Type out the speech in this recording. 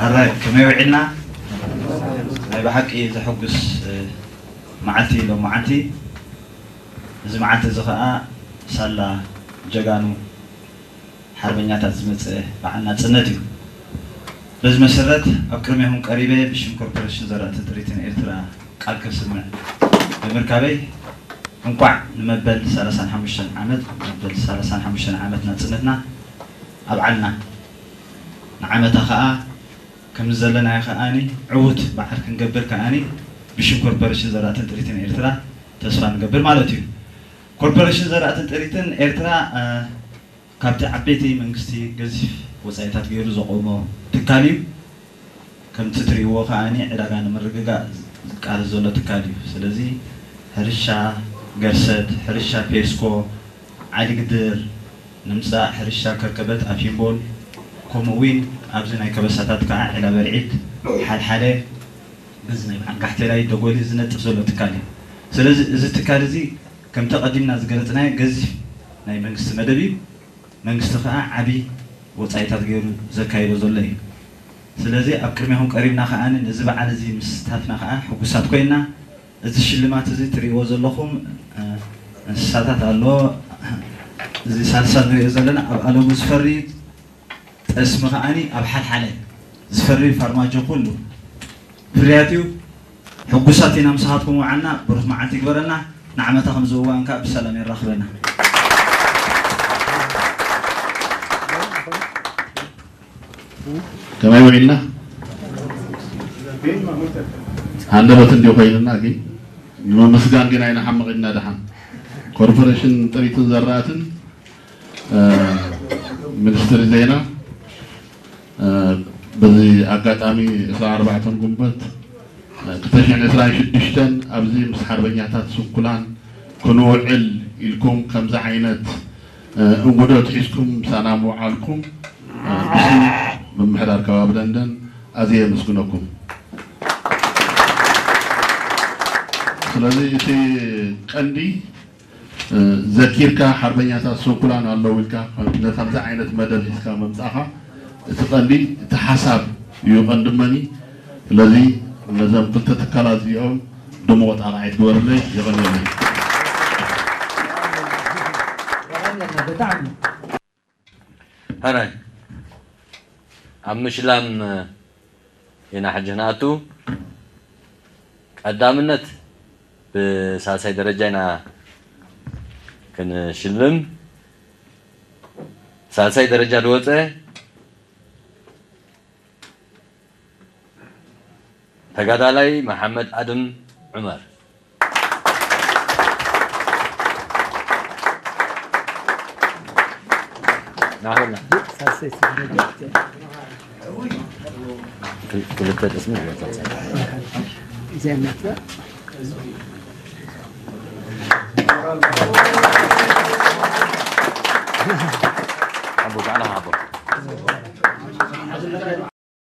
ኣራይ ከመይ ውዒልና? ናይ ብሓቂ ዘሐጉስ መዓልቲ ሎም መዓልቲ። እዚ መዓልቲ እዚ ኸዓ ሳላ ጀጋኑ ሓርበኛታት ዝመፀ በዓል ናፅነት እዩ። በዚ መሰረት ኣብ ቅድሜኹም ቀሪበ ብሽም ኮርፖሬሽን ዘራእትን ጥሪትን ኤርትራ ቃል ከስምዕ ብምርካበይ እንቋዕ ንመበል ሰላሳን ሓሙሽተን ዓመት መበል ሰላሳን ሓሙሽተን ዓመት ናፅነትና ኣብዓልና። ንዓመታ ኸዓ ከምዚ ዘለናዮ ከኣኒ ዕዉት በዓል ክንገብር ከኣኒ ብሽም ኮርፖሬሽን ዘራእትን ጥሪትን ኤርትራ ተስፋ ንገብር ማለት እዩ። ኮርፖሬሽን ዘራእትን ጥሪትን ኤርትራ ካብቲ ዓበይቲ መንግስቲ ገዚፍ ወፃኢታት ገይሩ ዘቆሞ ትካል እዩ። ከምቲ ትሪእዎ ከኣኒ ዕዳጋ ንምርግጋእ ዝቃለስ ዘሎ ትካል እዩ። ስለዚ ሕርሻ ገርሰት፣ ሕርሻ ፔስኮ፣ ዓሊግድር ንምፃእ፣ ሕርሻ ከርከበት ኣፊምቦል፣ ከምኡ እውን ኣብዚ ናይ ከበሳታት ከዓ ዒላ በርዒድ፣ ሓልሓለ፣ በዚ ናይ በዓል ጋሕቴላይ ደጎሊ ዝነጥፍ ዘሎ ትካል እዩ። ስለዚ እዚ ትካል እዚ ከምቲ ቀዲምና ዝገለፅናዮ ገዚፍ ናይ መንግስቲ መደብ እዩ። መንግስቲ ከዓ ዓብዪ ወፃኢታት ገይሩ ዘካይዶ ዘሎ እዩ። ስለዚ ኣብ ቅድሚኹም ቀሪብና ከዓ ነዚ በዓል እዚ ምስታፍና ከዓ ሕጉሳት ኮይና፣ እዚ ሽልማት እዚ ትሪእዎ ዘለኹም እንስሳታት ኣሎ። እዚ ሳልሳ ንሪኦ ዘለና ኣብ ኣለሙ ዝፈሪ ጠስሚ ከዓኒ ኣብ ሓልሓለ ዝፈሪ ፋርማጆ ኩሉ ፍርያት እዩ። ሕጉሳት ኢና ምሳኻትኩም ውዓልና። ብሩኽ መዓልቲ ይግበረልና። ንዓመታ ከም ዝውዋን ከዓ ብሰላም የራኽበና። ከመይ ውዒልና? ሃንደበት እንዲዩ ኮይንና ግን ንምምስጋን ግን ኣይንሓምቕ ኢና። ደሓን ኮርፖሬሽን ጥሪትን ዘራእትን ሚኒስትሪ ዜና በዚ ኣጋጣሚ ዕስራን ኣርባዕተን ጉንበት ክልተ ሽሕን ዕስራን ሽዱሽተን ኣብዚ ምስ ሓርበኛታት ስንኩላን ክንውዕል ኢልኩም ከምዚ ዓይነት እንጉዶት ሒዝኩም ምሳና ምውዓልኩም ብስም ምምሕዳር ከባቢ ደንደን ኣዝየ የመስግነኩም። ስለዚ እቲ ቀንዲ ዘኪርካ ሓርበኛታት ስንኩላን ኣለዉ ኢልካ ንከምዚ ዓይነት መደብ ሒዝካ ምምፃእኻ እቲ ቀንዲ እቲ ሓሳብ እዩ ቀንዲ መኒ። ስለዚ ነዞም ክልተ ትካላት እዚኦም ድሙቕ ጣቕዒት ግበርለይ። የቐንየለይ። ሕራይ ኣብ ምሽላም ኢና ሕጂ ንኣቱ። ቀዳምነት ብሳልሳይ ደረጃ ኢና ክንሽልም። ሳልሳይ ደረጃ ዝወፀ ተጋዳላይ መሓመድ ኣድም ዑመር። ናበልና። ክልተ ጥስሚ ይወጣል።